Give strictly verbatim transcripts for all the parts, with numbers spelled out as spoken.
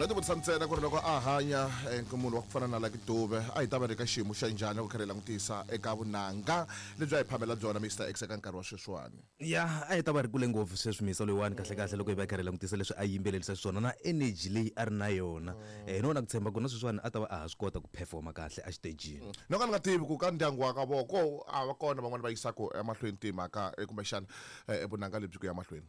No tivutisa ntsena ku ri loko a hanya eh, munhu wa ku fana na Lucky Dube a hi ta va ri ka xiyimo xa njhani loko kha hi langutisa eka vunanga lebyi a hi phamela byona Mister X eka nkarhi wa sweswiwani. Ya, a hi ta va ri kule ngopfu sweswi misa loyiwani kahle kahle loko hi va hi karhi hi langutisa leswi a yimbelelisa xiswona na energy leyi a ri na yona. Eh, no na ku tshemba ku na sweswiwani a ta va a ha swi kota ku performa kahle exitejini. No ka ni nga tivi ku ka ndyangu wa ka vona ko a va kona van'wani va yisaka emahlweni timhaka eh, kumbexana eh, vunanga lebyi ku ya mahlweni.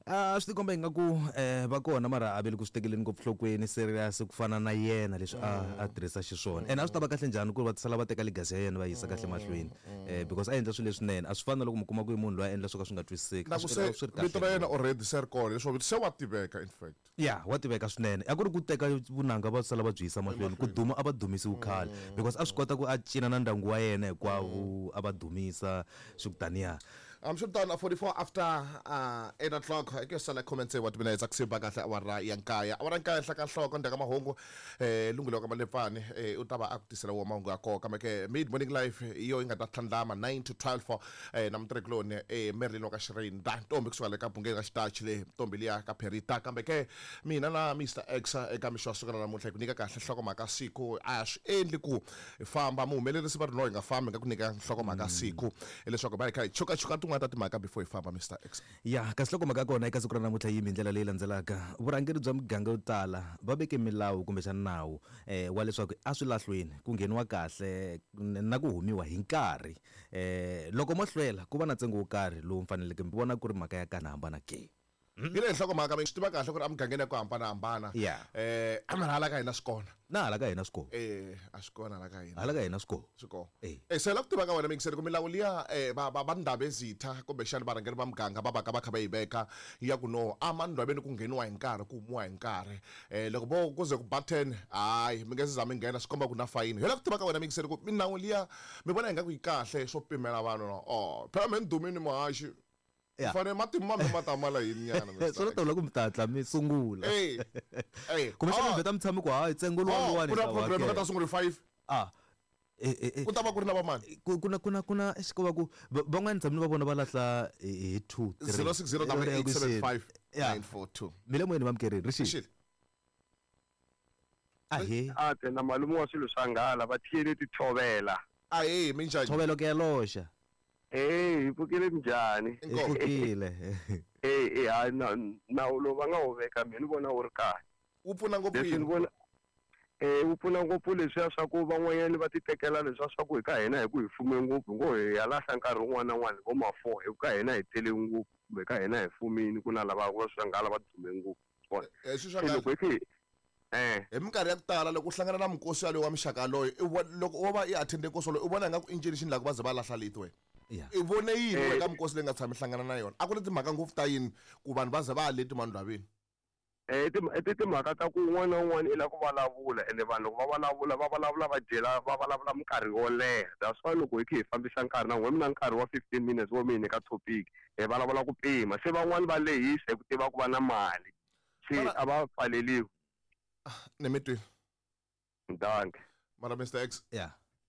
A swi tikomba ingaku eh va kona mara a ve le ku swi tekeleni ngopfu nhlokweni serious ku fana na yena leswi a a tirhisa xiswona. Ene a swi ta va kahle njhani ku ri va sala va teka legacy ya yena va yisa kahle mahlweni, eh because a endla swilo leswinene. A swi fani na loko mi kuma ku i munhu loyi a endla swo ka swi nga twisiseki. Na A ku swi se swi ri kahle vito ra yena already se ri kona leswo se wa tiveka in fact. Ya, wa tiveka swinene. A ku ri ku teka vunanga va sala va byi yisa mahlweni, ku duma a va dumisiwi khale because a swi kota ku a cina na ndyangu wa yena hinkwavo a va dumisa swi ku taniya. Hambiswiritano, forty-four after uh, eight o'clock ke sala comments wa timinetse ku siba kahle awara ya nkaya awara nkaya henhla ka nhloko ndzhaku ka mahungu eh lunghelo ka Malepfani eh u ta va a ku tisela wa mahungu ya koka kambe ke mid morning life hi yo yi nga ta tlhandlama nine to twelve eh na mutirhikuloni eh Merlin wa ka Xirinda ntombi kusuka le ka bungeni ka xitachi le ntombi liya ka Perita kambe ke mina na Mister X eka mixo wa siku ra namuntlha hi ku nyika kahle nhlokomhaka siku a swi endli ku hi famba muhumelerisi va ri no hi nga fambi nga ku nyika nhlokomhaka siku hileswaku va hi kha hi chukachuka tin'wana ta timhaka before hi famba Mister X. Ya, kasi nhlokomhaka ya kona eka siku ra namuntlha yimi hi ndlela leyi landzelaka. Vurhangeri bya miganga yo tala va veke milawu kumbexana nawu eh, wa leswaku a swilahlweni ku ngheniwa kahle na ku humiwa hi nkarhi. Eh, loko mo hlwela ku va na ntsengo wo karhi lowu mi faneleke mi vona ku ri mhaka ya kana hambana ke. Hi leyi nhlokomhaka mi swi tiva kahle ku ri emugangeni ya ku hambanahambana. Yeah. Eh, mara hala ka hina swi kona. Na hala ka hina swi kona. Eh, a swi kona hala ka hina. Hala ka hina swi kona. Swi kona. Eh. Eh, se la ku tiva ka wena mingiseri ku milawu liya eh, va va va Ndabezitha kumbexana varhangeri va muganga va va ka va kha va yi veka ya ku no a mandwaveni ku ngheniwa hi nkarhi ku humiwa hi nkarhi. Eh, loko vo ku ze ku ba ten hayi mi nge se za mi nghena swi komba ku na fayini. Hi la ku tiva ka wena mingiseri ku milawu liya mi vona ingaku yi kahle swo pimela vanhu no. Oh, phela me ni dumile muhaxi. Yeah. Fanele matimu mambe ma ta mala yini nyana, Mister Swi ta vula ku mi ta hatla mi sungula. Eh, eh. Kumbexana Ah. mi vheta mi tshame ku hayi ntsengo luwa Oh, luwani ku na hi ta program hakela. ka ta sungula hi five. Ah. Eh, eh, eh. Ku ta va ku ri na va mani? Ku, ku na, ku na, ku na, eish, ko va ku, va, van'wani tshame ni va vona va lahla hi, hi two, three. Zero six zero double eight seven five Yeah. nine four two. Mi le moyeni va mukerini, ri xile. Xile. Ahee. A te na malume wa swilo swa nghala va thiyele tithovela. Ahee, minjhani? Thovelo ke ya loxa. Eh, hi pfukile njhani? Hi pfukile. Eh, eh, hayi, na, nawu lowu va nga wu veka mina ni vona wu ri kahle. Wu pfuna ngopfu Leswi ni yini? vona, eh, wu pfuna ngopfu leswiya swa ku van'wanyani va ti tekela leswiya swa ku hi ka hina hi ku hi fume ngopfu, hi ngo hi ya lahla nkarhi wun'wana na wun'wana hi vo ma four, hi ku ka hina hi tele ngopfu, kumbe ka hina hi fumile, ku na lava va swa nghala va dume ngopfu. Vona. Eh, swi swa Se nghala. loko hi khe hi, eh. Hi minkarhi ya ku tala loko u hlangana na mikosi yaloye wa muxaka yaloye, i vona, loko wo va i attend-e nkosi wolowo, i vona ingaku i ncini xi endlaka va ze va lahla leti wena. Yeah. I vone yini Eh. eka mikosi leyi nga tshami hlangana na yona? A ku ri timhaka ngopfu ta yini ku vanhu va ze va ya leti mandwaveni? Eh, i tim-, i ti timhaka ta ku un'wana na un'wana i lava ku vulavula, ende vanhu loko va vulavula, va vulavula va dyela, va vulavula minkarhi yo leha. That's why loko hi kha hi fambisa nkarhi na n'we, mi na nkarhi wa fifteen minutes wo mi hi nyika topic, hi vulavula ku pima. Se van'wani va lehisa hi ku tiva ku va na mali, se Mara a va pfaleliwi. Ah, ni mi twile. Dankie. Mara Mister X, Yeah.